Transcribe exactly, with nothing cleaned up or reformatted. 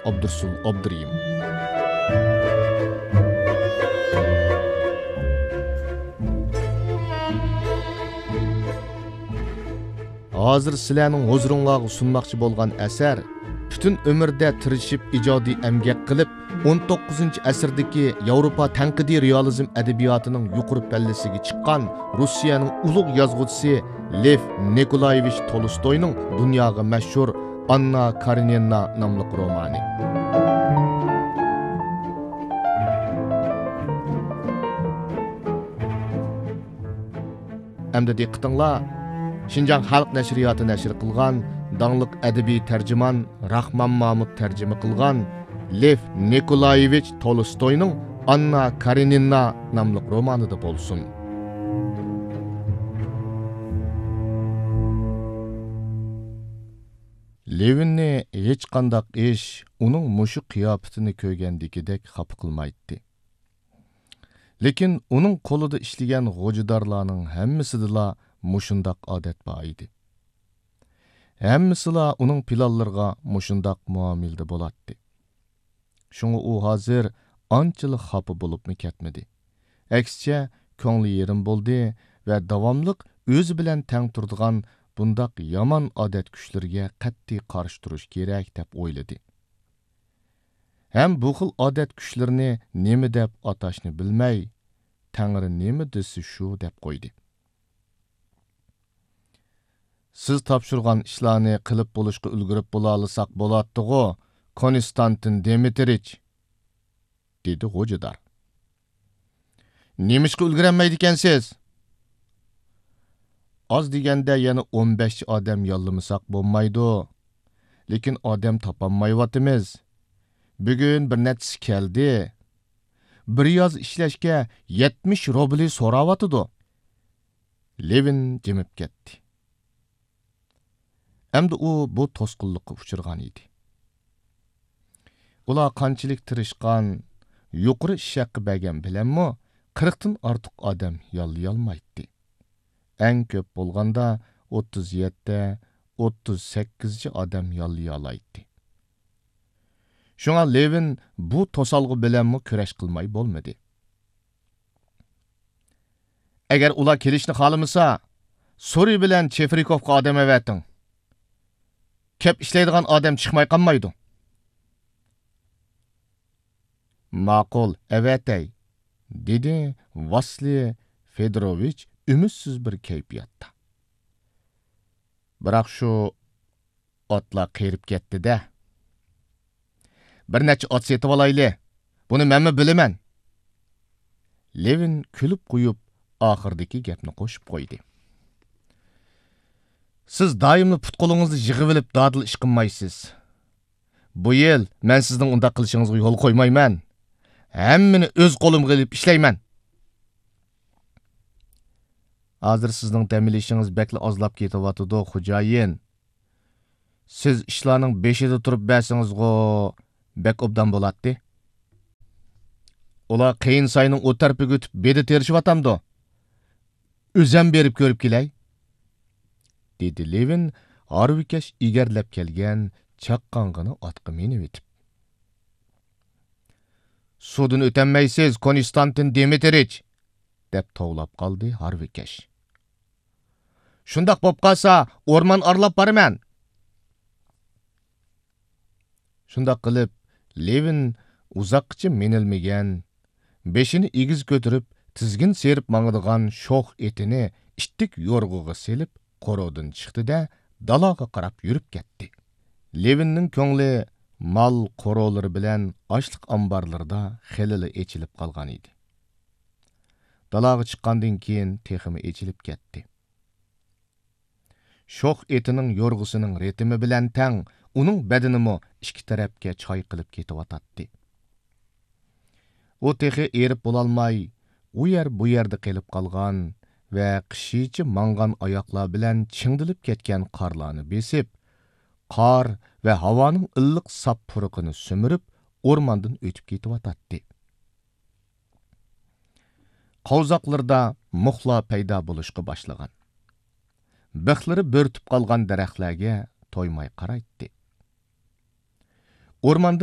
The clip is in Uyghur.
ئابدۇرۇسۇل ئابدۇرېھىم. ھازىر سىلەرنىڭ ھۇزۇرۇڭلارغا سۇنماقچى بولغان ئەسەر، پۈتۈن ئۆمۈردە تىرىشىپ ئىجادىي ئەمگەك قىلىپ، ئون توققۇزىنچى ئەسىردىكى ياۋروپا تەنقىدىي رېئالىزم ئەدەبىياتىنىڭ يۇقىرى پەللىسىگە چىققان روسىيەنىڭ ئۇلۇغ يازغۇچىسى لېف نىكولايېۋىچ تولستوينىڭ دۇنياغا مەشھۇر ئاننا كارېنىنا ناملىق رومانى. ئەمدى دىققىتىڭلار شىنجاڭ خەلق نەشرىياتى نەشر قىلغان داڭلىق ئەدەبىي تەرجىمان راخمان مامۇت تەرجىمە قىلغان لېف نىكولايېۋىچ تولستوينىڭ ئاننا كارېنىنا ناملىق رومانىدا بولسۇن. لېۋىننى ھېچقانداق ئىش ئۇنىڭ مۇشۇ قىياپىتىنى كۆرگەندىكىدەك خاپا قىلمايتتى. لېكىن ئۇنىڭ قولىدا ئىشلىگەن غوجىدارلارنىڭ ھەممىسىدىلا مۇشۇنداق ئادەت بار ئىدى. ھەممىسىلا ئۇنىڭ پىلانلىرىغا مۇشۇنداق مۇئامىلىدە بولاتتى. شۇڭا ئۇ ھازىر ئانچىلىك خاپا بولۇپمۇ كەتمىدى. ئەكسىچە، كۆڭلى يېرىم بولدى ۋە داۋاملىق ئۆزى بىلەن تەڭ تۇرىدىغان بۇنداق يامان ئادەت كۈچلىرىگە قەتئىي قارشى تۇرۇش كېرەك، دەپ ئويلىدى. ھەم بۇ خىل ئادەت كۈچلىرىنى نېمە دەپ ئاتاشنى بىلمەي، تەڭرى نېمە دېسە شۇ دەپ قويدى. سىز تاپشۇرغان ئىشلارنى قىلىپ بولۇشقا ئۈلگۈرۈپ بولالىساق بولاتتىغۇ، كونستانتىن دىمىترىچ، دېدى غوجىدار. نېمىشقا ئۈلگۈرەلمەيدىكەنسىز؟ ئاز دېگەندە يەنە ئون بەشچە ئادەم ياللىمىساق بولمايدۇ. لېكىن ئادەم تاپالمايۋاتىمىز. بۈگۈن بىر نەچچىسى كەلدى. بىر ياز ئىشلەشكە يەتمىش روبلى سوراۋاتىدۇ. لېۋىن جىمىپ كەتتى. ئەمدى ئۇ بۇ توسقۇنلۇققا ئۇچرىغان ئىدى. ئۇلار قانچىلىك تىرىشقان، يۇقىرى ئىش ھەققى بەرگەن بىلەنمۇ قىرىقتىن ئارتۇق ئادەم ياللىيالمايتتى. ئەڭ كۆپ بولغاندا ئوتتۇز يەتتە، ئوتتۇز سەككىزچە ئادەم ياللىيالايتتى. شۇڭا لېۋىن بۇ توسالغۇ بىلەنمۇ كۈرەش قىلماي بولمىدى. ئەگەر ئۇلار كېلىشنى خالىمىسا، سورى بىلەن چېفرىكوفقا ئادەم ئەۋەتىڭ. كەپ ئىشلەيدىغان ئادەم چىقماي قالمايدۇ. ماقۇل، ئەۋەتەي، دېدى ۋاسلىي فېدوروۋىچ ئۈمىدسىز بىر كەيپىياتتا. بىراق شۇ ئاتلار قېرىپ كەتتى-دە. بىر نەچچە ئات سېتىۋالايلى. بۇنى مەنمۇ بىلىمەن. لېۋىن كۈلۈپ قويۇپ، ئاخىرىدىكى گەپنى قوشۇپ قويدى. سىز دائىملا پۇت-قولىڭىزنى يىغىۋېلىپ دادىل ئىش قىلمايسىز. بۇ يىل مەن سىزنىڭ ئۇنداق قىلىشىڭىزغا يول قويمايمەن. ھەممىنى ئۆز قولۇمغا ئېلىپ ئىشلەيمەن. ھازىر سىزنىڭ دەم ئېلىشىڭىز بەكلا ئازلاپ كېتىۋاتىدۇ، خوجايىن. سىز ئىشلارنىڭ بېشىدا تۇرۇپ بەرسىڭىزغۇ بەك ئوبدان بولاتتى. ئۇلار قېيىن ساينىڭ ئۇ تەرىپىگە ئۆتۈپ بېدە تېرىشىۋاتامدۇ؟ ئۆزەم بېرىپ كۆرۈپ كېلەي، دېدى لېۋىن ھارۋىكەش ئېگەرلەپ كەلگەن چاققانغىنا ئاتقا مىنىۋېتىپ. سۇدىن ئۆتەلمەيسىز، كونستانتىن دىمىترىچ، دەپ توۋلاپ قالدى ھارۋىكەش. شۇنداق بوپ قالسا، ئورمان ئارىلاپ بارىمەن. شۇنداق قىلىپ، لېۋىن ئۇزاققىچە مىنىلمىگەن، بېشىنى ئېگىز كۆتۈرۈپ، تىزگىن سىيرىپ ماڭىدىغان شوخ ئېتىنى ئىتتىك يورغىغا سېلىپ، قورۇدىن چىقتى-دە، دالاغا قاراپ يۈرۈپ كەتتى. لېۋىننىڭ كۆڭلى مال قورۇلىرى بىلەن ئاشلىق ئامبارلىرىدا خېلىلا ئېچىلىپ قالغان ئىدى. دالاغا چىققاندىن كېيىن تېخىمۇ ئېچىلىپ كەتتى. شوخ ئېتىنىڭ يورغىسىنىڭ رىتىمى بىلەن تەڭ ئۇنىڭ بەدىنىمۇ ئىككى تەرەپكە چايقىلىپ كېتىۋاتاتتى. ئۇ تېخى ئېرىپ بولالماي، ئۇ يەر بۇ يەردە قېلىپ قالغان ۋە قىشىچە ماڭغان ئاياقلار بىلەن چىڭدىلىپ كەتكەن قارلارنى بېسىپ، قار ۋە ھاۋانىڭ ئىللىق ساپ پۇرىقىنى سۈمۈرۈپ، ئورماندىن ئۆتۈپ كېتىۋاتاتتى. قاۋزاقلىرىدا مۇخلار پەيدا بولۇشقا باشلىغان. بىخلىرى بۆرتۈپ قالغان دەرەخلەرگە تويماي قارايتتى. ئورماندا